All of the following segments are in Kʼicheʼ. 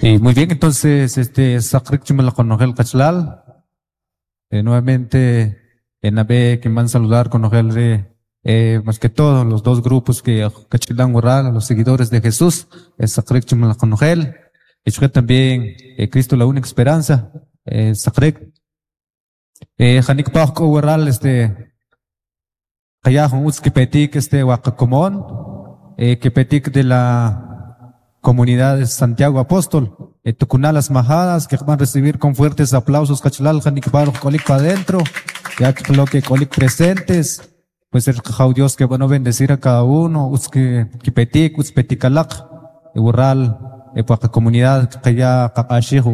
Y muy bien, entonces, este, saqrik chumala konojel qachalal. Nuevamente, en Abe, que van a saludar con más que todo, los dos grupos que kachilan waral, los seguidores de Jesús, saqrik chumala konojel. Y también, Cristo la única esperanza, saqrik. Janik paj k'o waral, este, qaya jun utz kipetik, este, waqakomon, kipetik de la comunidad de Santiago Apóstol, Tucunal Las Majadas, que van a recibir con fuertes aplausos, qachalal, janik paj k'olik pa adentro, ya que lo que k'olik presentes, pues el Qajaw Dios que van a bendecir a cada uno, utz que kipetik, utz petikalaq, waral, waqa comunidad, qaya qaq'axij,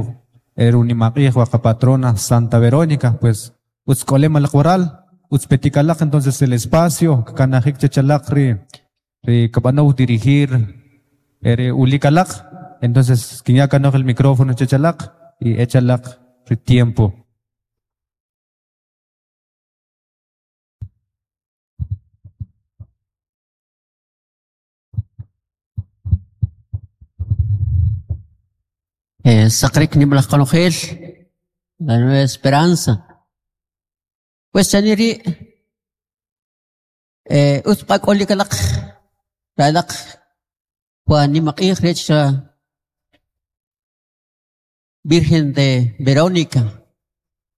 erunimaq'ij, waqa patrona Santa Verónica, pues utz k'olem alaq waral, utz petikalaq, entonces el espacio, kanajik chachalaq ri, ri kab'anow dirigir, ere ulikalaq, entonces kinya kanoj el micrófono chachalaq y echalaq ri tiempo. Saqrik nimlaj qonojel, la Nueva Esperanza. Pues chaniri, utz q'ak'olikalaq, ralaq, wa nimaq'ij rech Virgen de Verónica.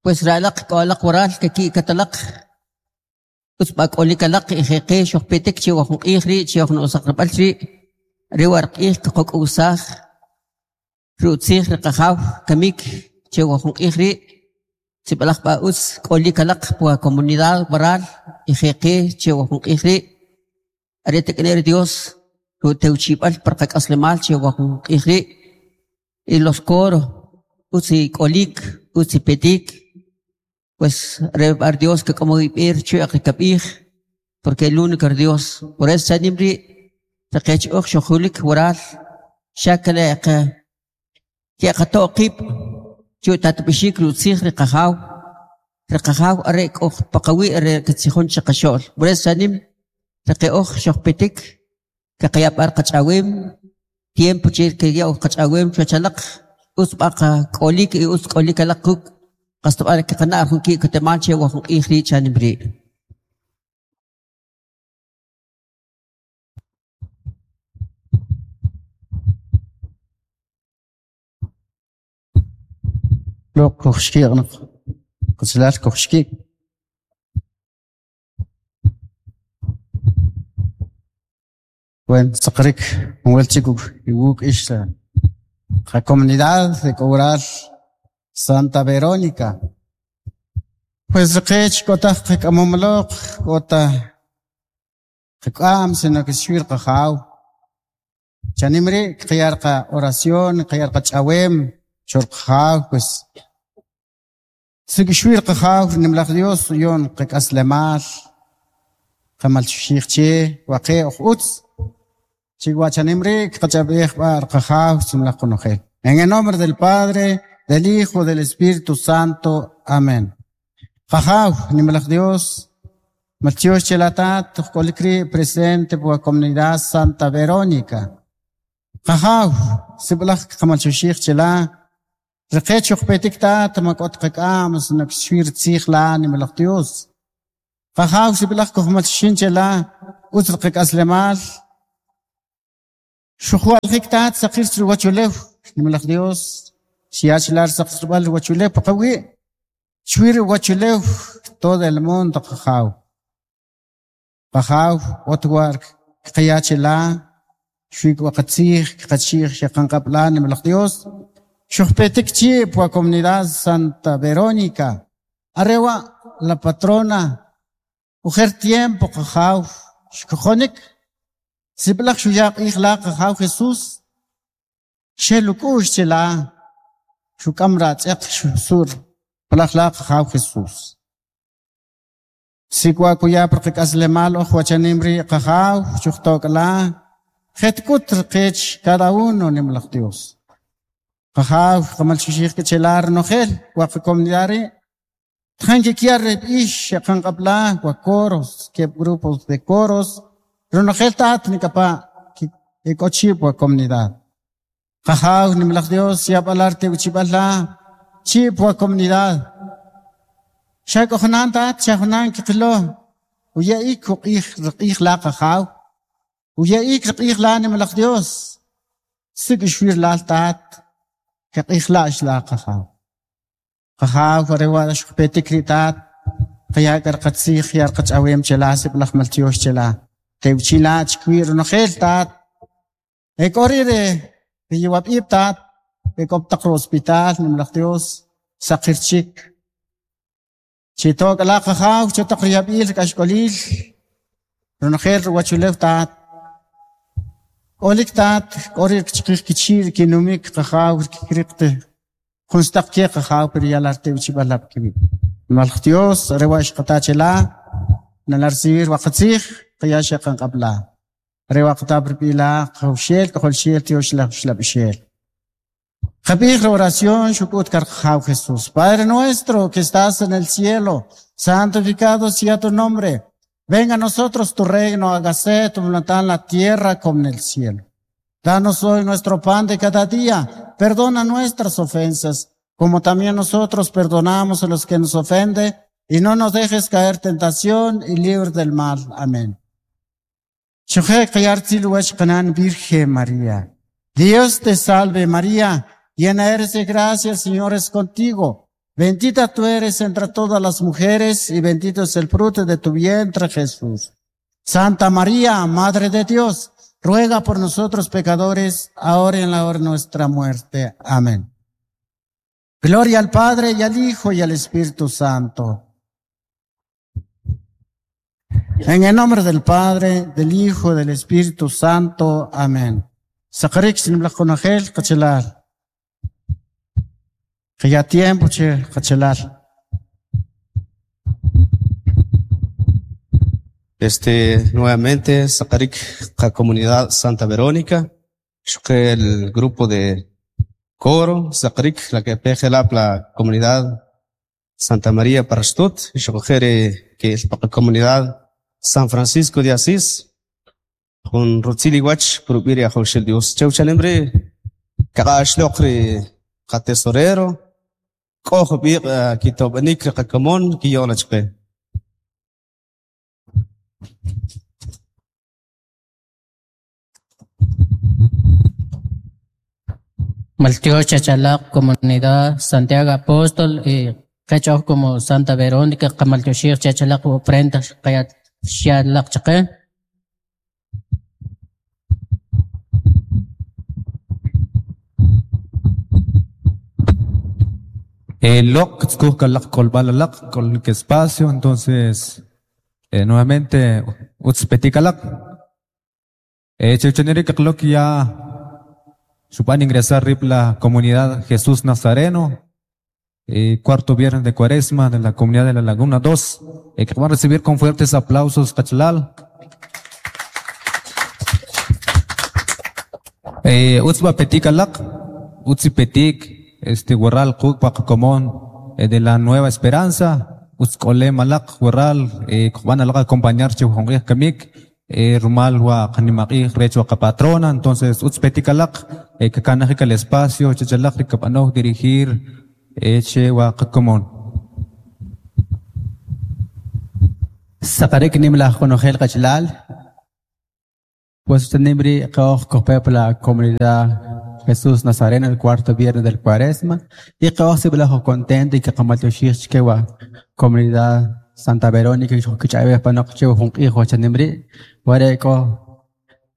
Pues ralaq k'olaq waral kaki katalaq, utz q'ak'olikalaq ijeqe xojpetik chi wa jun q'ij ri' chi jun usaqrab'al ri', ri warq'ij kqok'usaj, ru'tzij riqajaw kamik chi wa jun q'ij ri', sib'alaj b'a utz k'olikalaq pwa comunidad waral ijeqe chi wa jun q'ij ri', are tek'ner Dios ru'tewchib'al par qak'aslemal chi wa jun q'ij ri', y los coros utzi k'olik, utzi petik, pues re bar Dios que como ib'ir chu'aq rikab'ij, porque el único Dios, por eso chanim ri' taqech uj xojulik waral, xakale qa keqato' qib' chu tatb'ixik ru'tzij riqajaw, riqajaw are k'oj paqawi' are katzijon chiqaxo'l, por eso chanim taqe uj xojpetik, kaqayab'ar qach'awem, tiempo chi keya uj qach'awem chuwachalaq, utz b'a k'olik y utz k'olik alaq kuk', qastob'al kaqana' jun ki' k'utemaal che wa jun q'ij rii' chanim rii'. Loq kujxki'qnaq, qachalal kujxki'. Bueno, saqrik, jun chik iwuk' ix la comunidad de Cobral Santa Verónica. Pues riqech k'otaj qak'amomloq, k'ota qak'am, sino que xwir qajaw. Chanim ri' qiyar qa oración, qiyar qa ch'awem, xor qajaw, pues Sikxwir qajaw nimlaj Dios yon qak'aslemal, qamal xij che, waqe uj utz. Chihuachanim ri' qach'ab'ej b'ar qajaw simlaj qonojel. En el nombre del Padre, del Hijo, del Espíritu Santo. Amén. Qajaw nimlaj Dios, maltiox chelatat, k'olik presente por la comunidad Santa Verónica. Qajaw, sib'laj qamalxuxij chela, riqech uqpetik tat mak'ot qak'am, sino xwir tzij la nimlaj Dios. Qajaw sib'laj kujmalxuxin chela, utz qak'aslemal, Xujualjik tat saqir ruwachulew, nimlaj Dios, xiachlar saqsrb'al ruwachulew paqawi', xwir ruwachulew todo el mundo qajaw. Qajaw otwar qaya chela, xwik waqatzij qachij xaqanqab'la nimlaj Dios, xujpetik chi pwa comunidad Santa Verónica, arewa la patrona, ujer tiempo qajaw, xkojonik, sib'laj xuyaq q'ij la qajaw Jesús, xeluk'ux chela, xuk'am ratz'eq xusur, palaj la qajaw Jesús. Sikwa kuya por qak'aslemal uj wachanim ri' qajaw, xujtok'la, jetk'ut riqech cada uno nimlaj Dios. Qajaw qamalxuxij kichelar nojel wa comunidad ri', tjan kikyar ix xaqanqab'la wa coros, keb' grupos de coros, ronojel tat nikapa ik'ochib wa comunidad. Qajaw nimalaj Dios yab'al ar tewchib'al la chi' pwa comunidad. Xa k'o junan tat, xa junan kiqilo, uya'ik uq'ij riq'ij la Qajaw, uya'ik riq'ij la nimalaj Dios, sik' xwir lal tat, kaq'ij la'x la Qajaw. Qajaw, are wa' xujpetik ri' tat, qaya' k'a riqatzij ya riqach'awem che la, sib'alaj maltyox che la. Tewchi' la chikwi' ronojel tat. E k'o ri' ri yawab'ib' tat, e k'o pa taq ri hospital, nimalaj Dios, saqir chik. Chito' k'a la Qajaw cho taq ri yab'il, ri k'axk'olil, ronojel ruwachulew tat. K'olik tat, k'o ri kchaqij kichi' ri kinumik Qajaw, ri kikriq te jun sutaq ke Qajaw pero ya la tewchib'al la kiwi'. Nimalaj Dios, are wa' xqata che la, nala recibir wa qatzij, qaya xeqanq'ab' la. Are wa' qata per la, Qajawxel, K'ojolxel, Tyoxlaj Uxlab'ixel. Qab'ij la oración xuk'ut kar Qajaw Jesús. Padre nuestro que estás en el cielo, santificado sea tu nombre. Venga a nosotros tu reino, hágase tu voluntad en la tierra como en el cielo. Danos hoy nuestro pan de cada día. Perdona nuestras ofensas, como también nosotros perdonamos a los que nos ofenden. Y no nos dejes caer tentación y libre del mal. Amén. Xuquje' qaya rutzil uwach qanan Virgen María. Dios te salve María, llena eres de gracia, el Señor es contigo. Bendita tú eres entre todas las mujeres y bendito es el fruto de tu vientre Jesús. Santa María, Madre de Dios, ruega por nosotros pecadores, ahora y en la hora de nuestra muerte. Amén. Gloria al Padre y al Hijo y al Espíritu Santo. En el nombre del Padre, del Hijo, del Espíritu Santo. Amén. Saqarik sinimlaj qonojel qachalal. Qaya tiempo che qachalal. Nuevamente, Saqarik, la comunidad Santa Verónica, xuquje' el grupo de coro, Saqarik, la que pejelap la comunidad Santa María Parastut, xuquje' ri que es pa comunidad San Francisco de Asís, jun rutzil iwach purub'i ri Ajawxel Dios. Chew chanim ri kaq'axloq ri qatesorero, k'o jub'iq' kitob'anik ri qakomon kiyo'la chqe. Maltiox chachalaq comunidad Santiago Apóstol y qechoj como Santa Verónica qamaltioxij chachalaq ofrenda qayat xalaq chaqe. Loq tzkuj kalaq k'olb'al alaq k'ol espacio, entonces nuevamente utz petik alaq. Chewchaneri kaqlok ya xub'an ingresar rib la comunidad Jesús Nazareno, cuarto viernes de Cuaresma de la comunidad de la Laguna 2, que van a recibir con fuertes aplausos qachalal. Utz ba petik alaq, utz petik, warral quk pa qakomon de la Nueva Esperanza, utz k'olem alaq warral, van alaq acompañar che jun q'ij kamik, rumal wa qanimaq'ij rech wa qapatrona, entonces utz petik alaq, kakanajik al espacio chachalaq ri kab'anoj dirigir che wa qakomon. Saqarik nimlaj qonojel qachalal. Pues nimri qoj kojpe la comunidad Jesús Nazareno el cuarto viernes del Cuaresma y qoj sib'alaj contento y que qamaltyoxij chke wa comunidad Santa Verónica y xojkich'ab'ej panoq che jun q'ij wachanimri ware k'o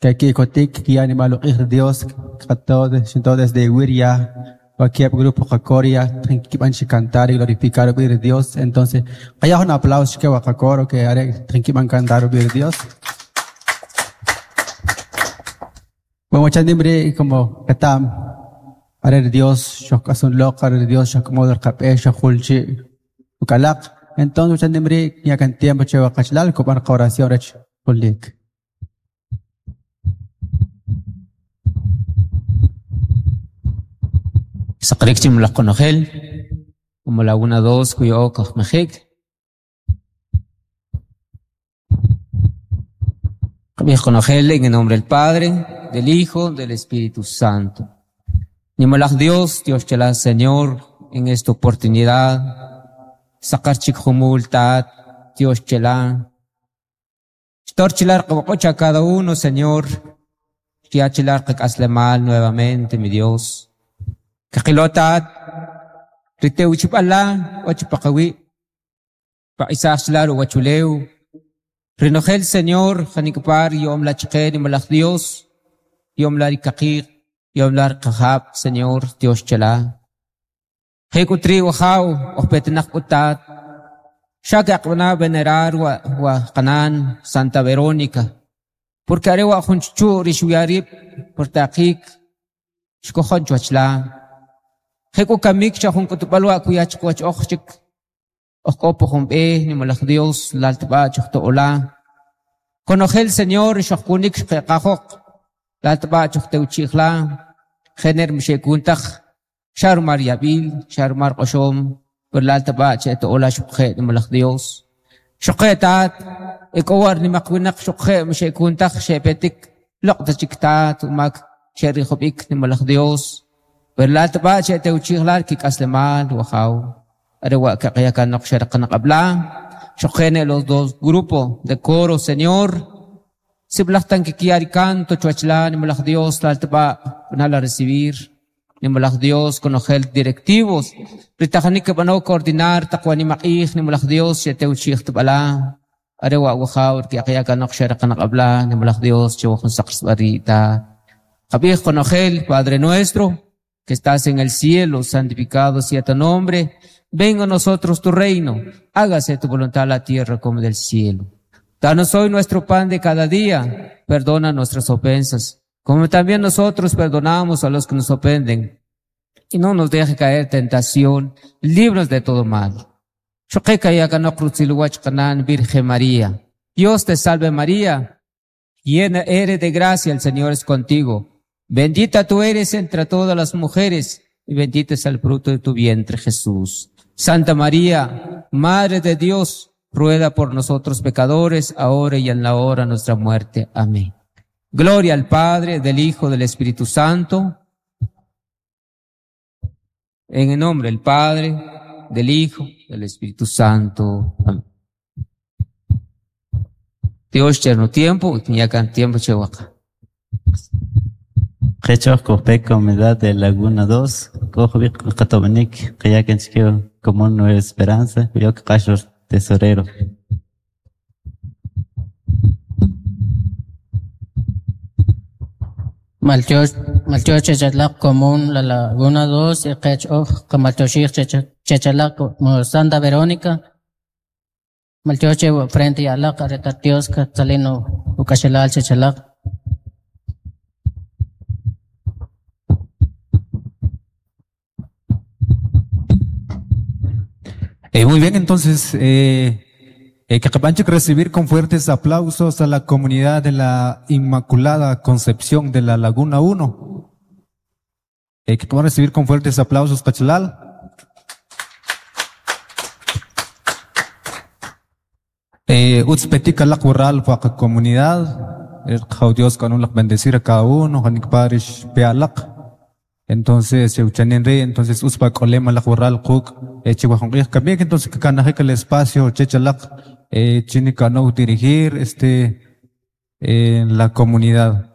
que kikotik kiya nimal uq'ij ri Dios qatod xinto desde Wiria wa kieb grupo Qakoria kib'an chi cantar y glorificar ub'i ri Dios. Entonces qaya jun aplauso chke wa qakoro que are kib'an cantar ub'i ri Dios. Bueno, wachanimri como ketam are ri Dios xojk'asun loq, are ri Dios xojk'amod riqab'ej xojjul chi ukalaq. Entonces wachanimri ya kan tiempo che wa qachalal kub'an oración rech julik. Saqarik chimlaj qonojel, como Laguna 2 kuyo kajmejik. Qb'ij qonojel en el nombre del Padre, del Hijo, del Espíritu Santo. Nimalaj Dios, Dios chala Señor, en esta oportunidad, saqar chik jumul tat, Dios chala. Xtor chilar a cada uno, Señor, chilar mal nuevamente, mi Dios. Kaqilotat, ritewchipala, ochpaqawi, pa isaq wachuleu. Rinojel Señor, janikpar, yom la chqe, nimalaj Dios, yom la rikaqiq, yom la rqajab, Señor, Dios chala. Hekutri wajaw, ojpetinaq utat, Shaka aqbana venerar wa, wa qanan Santa Verónica. Porque arewa junchu rishuyarib por taqik shkojon chuachla. Heku kamik cha jun kutupalwa kuyach kuach ojchik. Ojkopo jumbe ni malaj Dios laltba chohto ola. Konojel Señor shohkunik shqeqajok. Laltba chohteuchijla. Gener mshekuntach. Sharmar yabil, sharmar qoshom. Per laltba cheto ola shukhe ni malaj Dios. Shukhe tat. Ikowar ni makwinaq shukhe mshekuntach shepetik. Loqta chiktat umak sherihobik ni malaj Dios. Per laltba cheteuchijla kikaslemal wajaw. Arewa kaqayakanok sherqanaq abla. Shukene los dos grupos de coro, Señor. Siblachtan kikiari canto, chuachla, ni malaj Dios, laltba, nala recibir. Ni malaj Dios, con directivos. Ritajanik bano coordinar, taqwa ni maqij, ni malaj Dios, yeteuchij tbala. Arewa wajaw, kiaqayakanok sherqanaq abla, ni malaj Dios, chiwajun saqsbarita. Qabij conojel, Padre nuestro, que estás en el cielo, santificado sea tu nombre. Venga a nosotros tu reino, hágase tu voluntad en la tierra como del cielo. Danos hoy nuestro pan de cada día, perdona nuestras ofensas, como también nosotros perdonamos a los que nos ofenden. Y no nos deje caer tentación, líbranos de todo mal. Virgen María. Dios te salve María, llena eres de gracia, el Señor es contigo. Bendita tú eres entre todas las mujeres, y bendito es el fruto de tu vientre, Jesús. Santa María, Madre de Dios, ruega por nosotros pecadores, ahora y en la hora de nuestra muerte. Amén. Gloria al Padre, del Hijo, del Espíritu Santo. En el nombre del Padre, del Hijo, del Espíritu Santo. Amén. Dios eterno tiempo, y tiempo chehuaca. Qechoj kojpe comunidad de Laguna 2, kojbik qatobanik qayakan chikeo común Nueva Esperanza, yok qashor tesorero. Maltioch chechalak común la Laguna 2 y qech oj qamaltoxij chechalak Santa Verónica. Maltioche frente alaq aretatios katzalino ukashelal chechalak. Muy bien, entonces, que recibir con fuertes aplausos a la comunidad de la Inmaculada Concepción de la Laguna 1. Que van a recibir con fuertes aplausos, Pachalal. Utzpetika lak wural comunidad. El Dios con un bendecir a cada uno, Janik Parish Pealak. Entonces, Euchanin Rey, entonces, uspa kolema lak wural kuk, chihuahua kamik, entonces, que canaje el espacio, chechalak, chinika no dirigir, en la comunidad.